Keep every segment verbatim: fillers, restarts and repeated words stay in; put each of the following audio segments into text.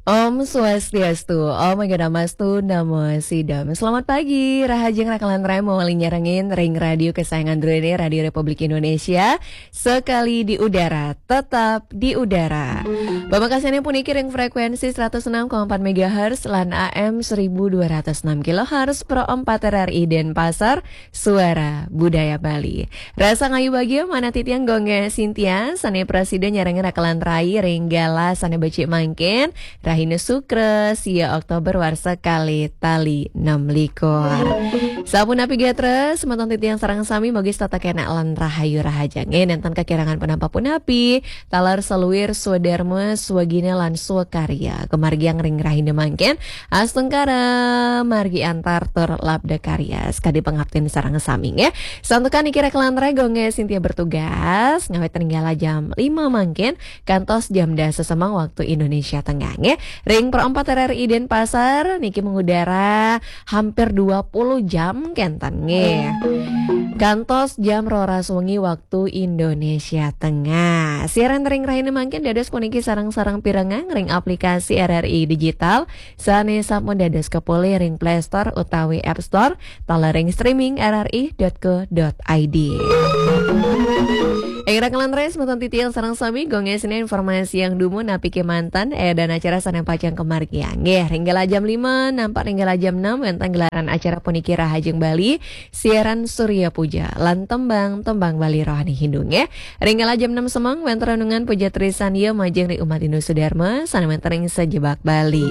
Om Swastiastu, Om Agadamastu, Namo Sidam. Selamat pagi, rahajeng rakalan raya mawali nyarengin ring radio kesayangan druene, Radio Republik Indonesia, sekali di udara, tetap di udara. Pamekasane puniki ring frekuensi seratus enam koma empat megahertz lan A M seribu dua ratus enam kilohertz Pro empat R R I Denpasar, Suara Budaya Bali. Rasa ngayu bagia manah titiang Gung Sintia, sane prasida nyarengin rakalan rai ring galah sane becik mangkin, Rahina Sukra, sia Oktober warsa kalih tali enam likur. Sapunapi gatra, semeton titiang sareng sami mugi setata kenak lan rahayu rahajeng. Nenten kekirangan punapa-punapi, taler saluir swadarma, swagina lan swakarya. Kamargiang ring rahina mangkin, astungkara, margi antar tur labda karya. Sekadi pangaptin sareng sami nggih. Santukan niki rakalan raya Gung Sintia bertugas, ngawit ring galah jam lima mangkin, kantos jam dasa semeng waktu Indonesia Tengah nggih. Ring Pro empat R R I Denpasar niki mengudara hampir dua puluh jam kenten nggih. Kantos jam roras wengi waktu Indonesia Tengah. Siaran ring rahina mangkin dados puniki sareng-sareng pirengang ring aplikasi R R I Digital sane sampun dados kapolih ring Play Store utawi App Store, taler ring streaming R R I dot co dot I D. Ing rakalan raya semeton titiang sareng sami, Gung Sintia informasi yang dumun napi kemanten, eh, dan acara sane pacang kamargiang. Nggih, ring galah jam lima, nampak ring galah jam enam, wenten gelaran acara puniki Rahajeng Bali, siaran Surya Puja, lan tembang-tembang Bali rohani Hindu, nggih. Ring galah jam enam semeng, wenten renungan Puja Trisandya majeng ring umat Hindu Sudarma, sane wenten ring sajebag Bali.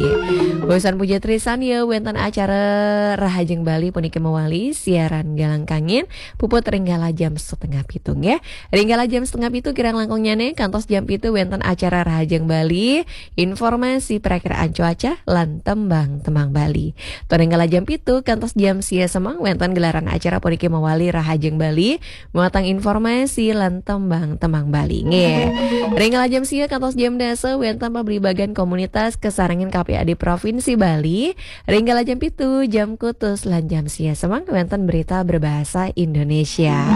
Wusan Puja Trisandya, wenten acara Rahajeng Bali puniki mawali, siaran Galang Kangin, puput ring galah jam setengah pitu, nggih. Ring galah jam setengah pitu kirang langkungnyane, kantos jam pitu wenten acara Rahajeng Bali, informasi perakiraan cuaca, lan tembang-tembang Bali. Tur ring galah jam pitu, kantos jam sia semeng wenten gelaran acara puniki mawali Rahajeng Bali, muatan informasi lan tembang-tembang Bali. Nggih. Ring galah jam sia kantos jam dasa wenten pablibagan komunitas kasarengin K P A D Provinsi Bali, ring galah jam pitu, jam kutus lan jam sia semeng wenten berita berbahasa Indonesia.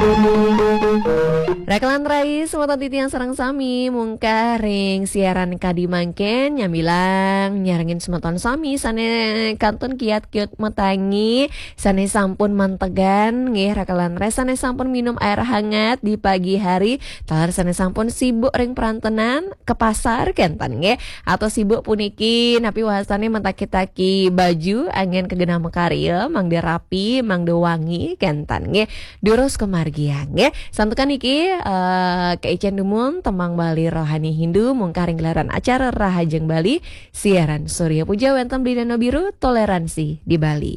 Rakalan rai, semeton titiang sareng sami, mungkah ring siaran kadi mangkin, nyamilang nyarengin semeton sami sane kantun kiat-kiat matangi, sane sampun mantegan nggih rakalan rai, sane sampun minum air hangat di pagi hari, taler sane sampun sibuk ring perantenan, ke pasar kenten nggih, atau sibuk puniki napi wastane mentaki-taki baju anggen kagenah makarya, mangda rapi, mangda wangi kenten nggih. Durus kamargiang nggih. Santukan niki, eh, kaicen dumun tembang Bali rohani Hindu mungkah ring gelaran acara Rahajeng Bali, siaran Surya Puja wenten Beli Nano Biru, toleransi di Bali.